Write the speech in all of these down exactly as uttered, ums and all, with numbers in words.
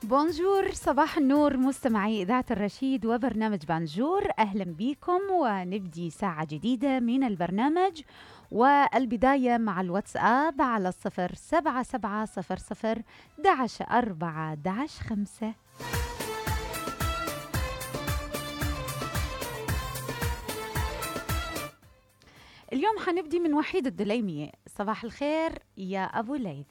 بونجور، صباح النور مستمعي إذاعة الرشيد وبرنامج بانجور. أهلا بكم ونبدي ساعة جديدة من البرنامج، والبداية مع الواتساب على الصفر سبعة سبعة صفر صفر دعش أربعة دعش خمسة. اليوم حنبدي من وحيد الدليمي. صباح الخير يا أبو ليث.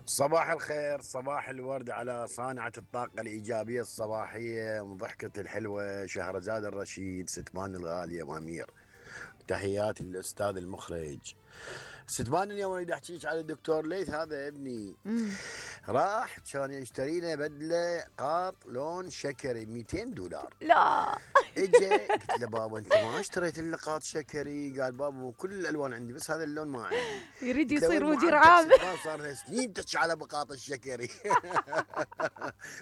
صباح الخير، صباح الورد على صانعة الطاقة الإيجابية الصباحية وضحكة الحلوة شهرزاد الرشيد، ستمان الغالية وأمير. تحياتي للأستاذ المخرج. ستمان، اليوم أريد أحكيك على الدكتور ليث، هذا ابني مم. راح كان يشتري له بدلة قاط لون شكري مئتين دولار. لا اجى قلت له بابا انت ما اشتريت لي قاط شكري؟ قال بابا كل الالوان عندي بس هذا اللون ما عندي. يريد قلت له يصير وين مدير معدك عام. ستمان؟ صار له سنين تحكي على بقاط الشكري.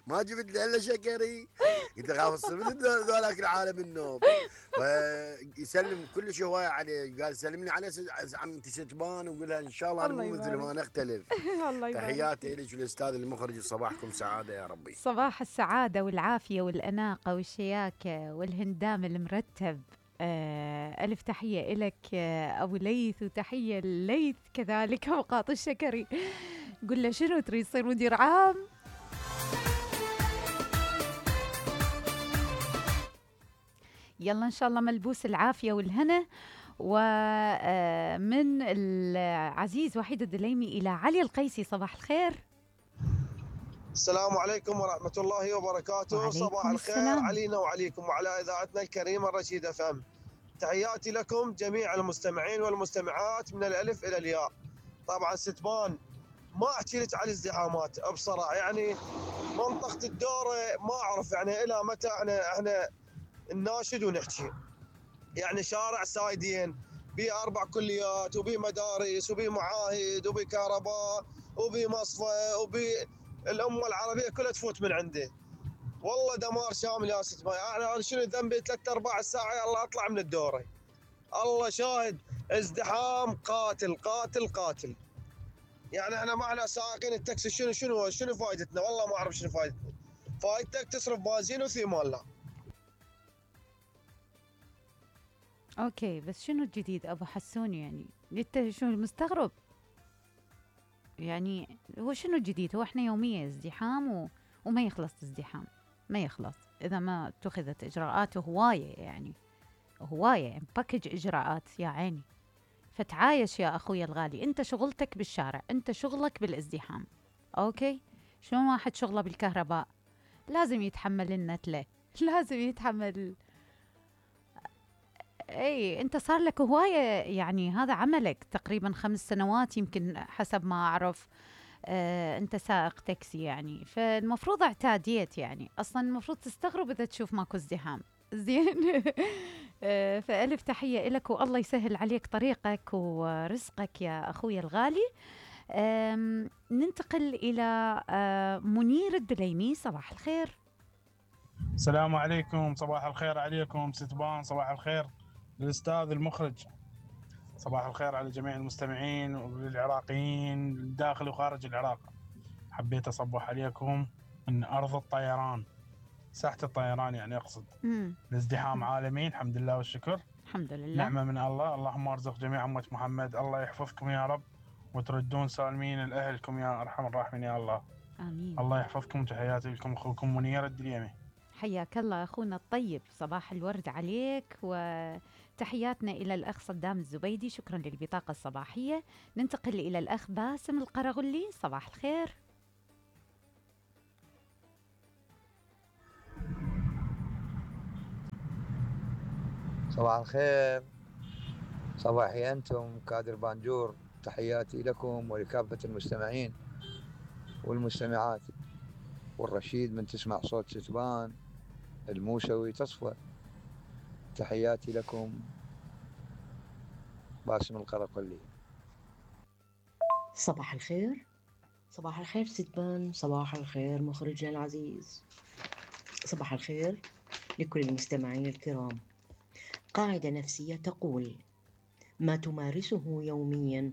ما جبت له الا شكري. قلت له خاف تصير مثل ذولاك العالم النوب. فيسلم كل شيء هوايه عليه. قال سلمني على عمتي ستمان وقول لها ان شاء الله انا الله مو مثل يبارك. ما نختلف. الله يبارك. تحياتي لك والاستاذ المخرج، صباحكم سعاده يا ربي. صباح السعادة والعافية والأناقة والشياكة والهندام المرتب. آه، ألف تحية إلك آه، أبو ليث، وتحية لليث كذلك وقاط الشكري. قل له شنو تريد تصير مدير عام؟ يلا إن شاء الله ملبوس العافية والهنا. ومن العزيز وحيد الدليمي إلى علي القيسي. صباح الخير. السلام عليكم ورحمة الله وبركاته. صباح الخير السلام. علينا وعليكم وعلى إذاعتنا الكريمة الرشيد اف ام. تحياتي لكم جميع المستمعين والمستمعات من الألف إلى الياء. طبعا ستمان ما أحكي لك على الازدحامات بصراحة، يعني منطقة الدورة ما أعرف يعني إلى متى احنا احنا نناشد ونحكي. يعني شارع سايدين بي أربع كليات وبي مدارس وبي معاهد وبي كهرباء وبي مصفى وبي الأمة العربية كلها تفوت من عنده. والله دمار شامل يا ست ماي. أنا شنو ذنبي ثلاث أرباع الساعة يلا أطلع من الدورة. الله شاهد، ازدحام قاتل قاتل قاتل. يعني احنا ما احنا سائقين التاكسي شنو شنو شنو فائدتنا؟ والله ما أعرف شنو فائدتنا. فائدتك تصرف بنزين وثمن. لا أوكي، بس شنو الجديد أبو حسون؟ يعني أنت شنو مستغرب؟ يعني هو شنو الجديد؟ هو احنا يوميا ازدحام و... وما يخلص ازدحام، ما يخلص إذا ما اتخذت إجراءات هواية، يعني هواية باكج إجراءات يا عيني. فتعايش يا أخوي الغالي، أنت شغلتك بالشارع، أنت شغلك بالازدحام. أوكي، شلون واحد شغله بالكهرباء لازم يتحمل النتلة، لازم يتحمل. اي انت صار لك هوايه، يعني هذا عملك تقريبا خمس سنوات يمكن حسب ما اعرف. آه انت سائق تاكسي يعني، فالمفروض اعتاديت. يعني اصلا المفروض تستغرب اذا تشوف ماكو ازدحام. زين. آه فالف تحيه لك، والله يسهل عليك طريقك ورزقك يا اخوي الغالي. ننتقل الى آه منير الدليمي. صباح الخير. السلام عليكم، صباح الخير عليكم ستبان، صباح الخير للأستاذ المخرج، صباح الخير على جميع المستمعين والعراقيين داخل وخارج العراق. حبيت أصبح عليكم من أرض الطيران، ساحة الطيران يعني أقصد. مم. الازدحام عالمي الحمد لله والشكر، الحمد لله، نعمة من الله. اللهم ارزق جميع أمة محمد، الله يحفظكم يا رب وتردون سالمين لأهلكم يا أرحم الراحمين يا الله. آمين. الله يحفظكم. تحياتي لكم أخوكم منير الدليمي. حياك الله أخونا الطيب، صباح الورد عليك، وتحياتنا إلى الأخ صدام الزبيدي. شكرا للبطاقة الصباحية. ننتقل إلى الأخ باسم القرغلي. صباح الخير. صباح الخير، صباحي أنتم كادر بانجور. تحياتي لكم ولكافة المستمعين والمستمعات، والرشيد من تسمع صوت ستبان الموسوي تصفى. تحياتي لكم، باسم القرقلي. صباح الخير، صباح الخير ستبان، صباح الخير مخرجنا العزيز، صباح الخير لكل المستمعين الكرام. قاعدة نفسية تقول: ما تمارسه يوميا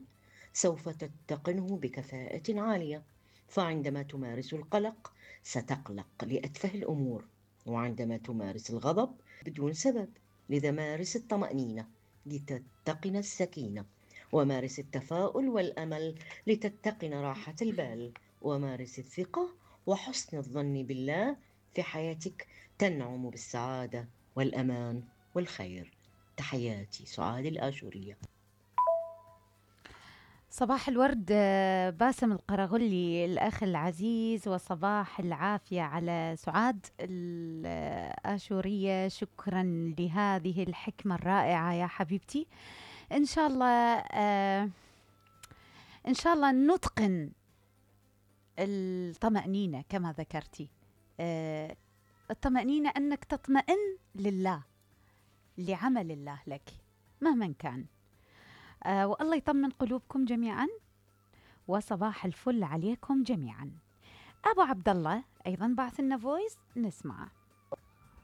سوف تتقنه بكفاءة عالية. فعندما تمارس القلق ستقلق لأتفه الأمور، وعندما تمارس الغضب بدون سبب. لذا مارس الطمأنينة لتتقن السكينة، ومارس التفاؤل والأمل لتتقن راحة البال، ومارس الثقة وحسن الظن بالله في حياتك، تنعم بالسعادة والأمان والخير. تحياتي، سعاد الآشورية. صباح الورد آه، باسم القرغلي الأخ العزيز، وصباح العافية على سعاد الآشورية. شكرا لهذه الحكمة الرائعة يا حبيبتي. إن شاء الله آه، إن شاء الله نتقن الطمأنينة كما ذكرتي. آه، الطمأنينة أنك تطمئن لله، لعمل الله لك مهما كان. آه والله يطمن قلوبكم جميعا، وصباح الفل عليكم جميعا. أبو عبد الله أيضا بعث لنا فويس نسمعه.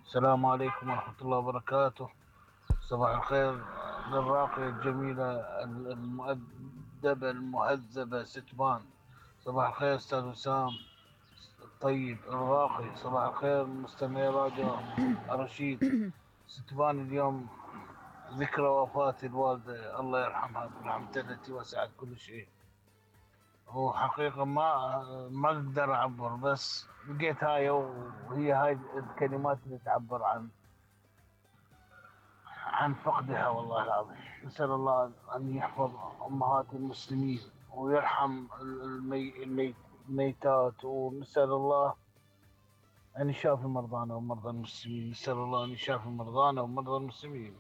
السلام عليكم ورحمة الله وبركاته. صباح الخير للراقية الجميلة المؤدبة المهذبة ستبان. صباح الخير أستاذ وسام الطيب الراقي. صباح الخير مستمعي راديو الرشيد. ستبان اليوم ذكرى وفاة الوالدة الله يرحمها برحمته التي وسعت كل شيء. وحقيقة ما ما أقدر أعبر، بس لقيت هاي وهي هاي الكلمات اللي تعبر عن عن فقدها. والله العظيم نسأل الله أن يحفظ أمهات المسلمين ويرحم المي... المي... الميتات، ونسأل الله أن يشافي مرضانا ومرضى المسلمين. نسأل الله أن يشافي مرضانا ومرضى المسلمين.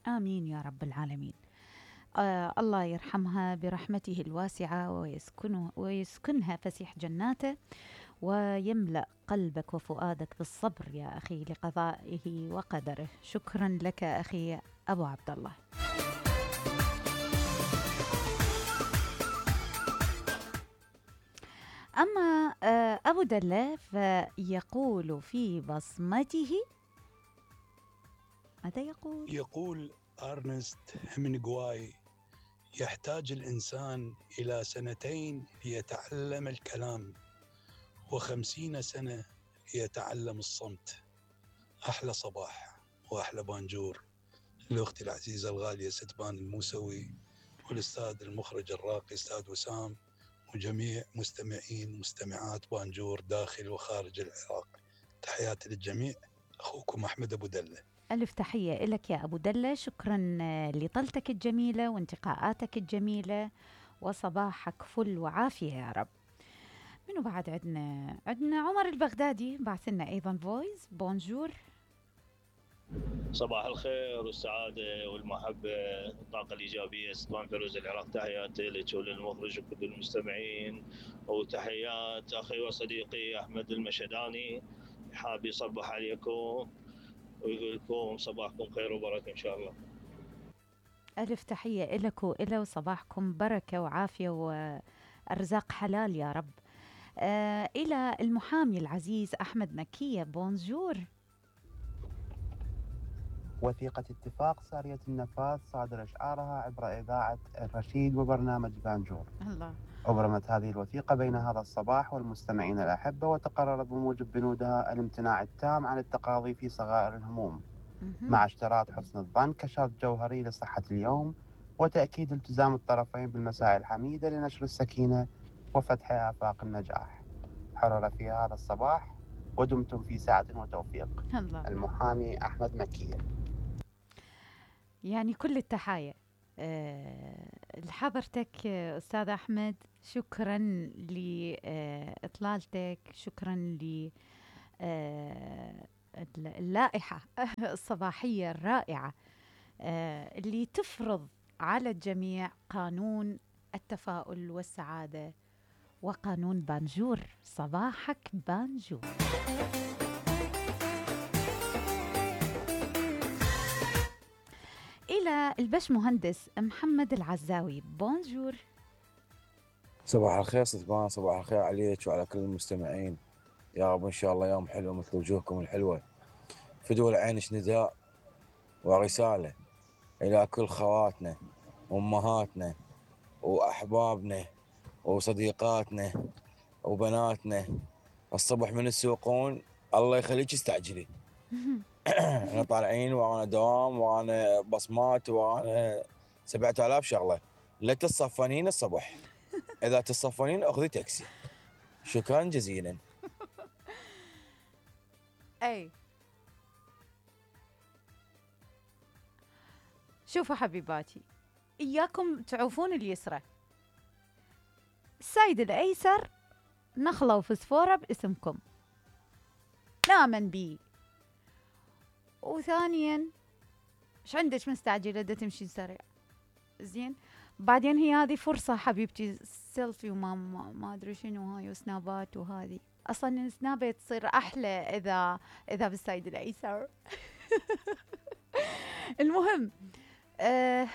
آمين يا رب العالمين. آه الله يرحمها برحمته الواسعة ويسكنه ويسكنها فسيح جناته، ويملأ قلبك وفؤادك بالصبر يا أخي لقضائه وقدره. شكرا لك أخي أبو عبد الله. أما آه أبو دلة فيقول في بصمته، ماذا يقول؟ يقول أرنست هيمنغواي: يحتاج الإنسان إلى سنتين ليتعلم الكلام، وخمسين سنة ليتعلم الصمت. أحلى صباح وأحلى بانجور لأختي العزيزة الغالية ستبان الموسوي، والأستاذ المخرج الراقي أستاذ وسام، وجميع مستمعين مستمعات بانجور داخل وخارج العراق. تحياتي للجميع، أخوكم أحمد أبو دلة. ألف تحية لك يا أبو دلة. شكرا لطلتك الجميلة وانتقاءاتك الجميلة، وصباحك فل وعافية يا رب. منو بعد عندنا؟ عندنا عمر البغدادي بعث لنا أيضا فويس. بونجور. صباح الخير والسعادة والمحبة والطاقة الإيجابية. ستبان فيروز العراق، تحياتي لك وللمخرج وكل المستمعين، وتحيات أخي وصديقي أحمد المشداني. حاب يصبح عليكم ويقول لكم صباحكم خير وبركة إن شاء الله. ألف تحية لك وإلى، وصباحكم بركة وعافية وأرزاق حلال يا رب. آه إلى المحامي العزيز أحمد مكية. بونجور. وثيقة اتفاق سارية النفاذ صادر إشعارها عبر إذاعة الرشيد وبرنامج بانجور. الله. أبرمت هذه الوثيقة بين هذا الصباح والمستمعين الأحبة، وتقرر بموجب بنودها الامتناع التام عن التقاضي في صغائر الهموم، مع اشتراط حسن الظن كشرط جوهري لصحة اليوم، وتأكيد التزام الطرفين بالمساعي الحميدة لنشر السكينة وفتح آفاق النجاح. حرر في هذا الصباح ودمتم في سعة وتوفيق. الله. المحامي أحمد مكية. يعني كل التحايا أه لحضرتك أستاذ أحمد. شكرا لإطلالتك، شكرا ل أه اللائحة الصباحية الرائعة أه اللي تفرض على الجميع قانون التفاؤل والسعادة وقانون بانجور. صباحك بانجور. إلى البش مهندس محمد العزاوي. بونجور. صباح الخير ستبان، صباح الخير عليك وعلى كل المستمعين. يا رب إن شاء الله يوم حلو مثل وجوهكم الحلوة. فدوا العينش نداء ورسالة إلى كل خواتنا وأمهاتنا وأحبابنا وصديقاتنا وبناتنا الصبح من يسوقون الله يخليك استعجلي. احنا طالعين وانا دوام وانا بصمات وانا سبعة آلاف شغله. لا تتصفنين الصبح، اذا تتصفنين اخذي تاكسي. شكرا جزيلا. اي شوفوا حبيباتي، اياكم تعوفون اليسرى. السايد الايسر نخله وفسفوره باسمكم، نامن بي. وثانيا ايش عندك مستعجله دا تمشي سريع؟ زين، بعدين هي هذه فرصه حبيبتي، سيلفي وما ما, ما ادري شنو هاي وسنابات، وهذه اصلا السنابه تصير احلى اذا اذا بالسايد الايسر. المهم أه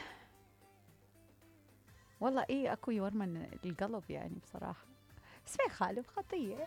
والله ايه اكو يورمن القلب يعني بصراحه، بس ما يخالف خطيه.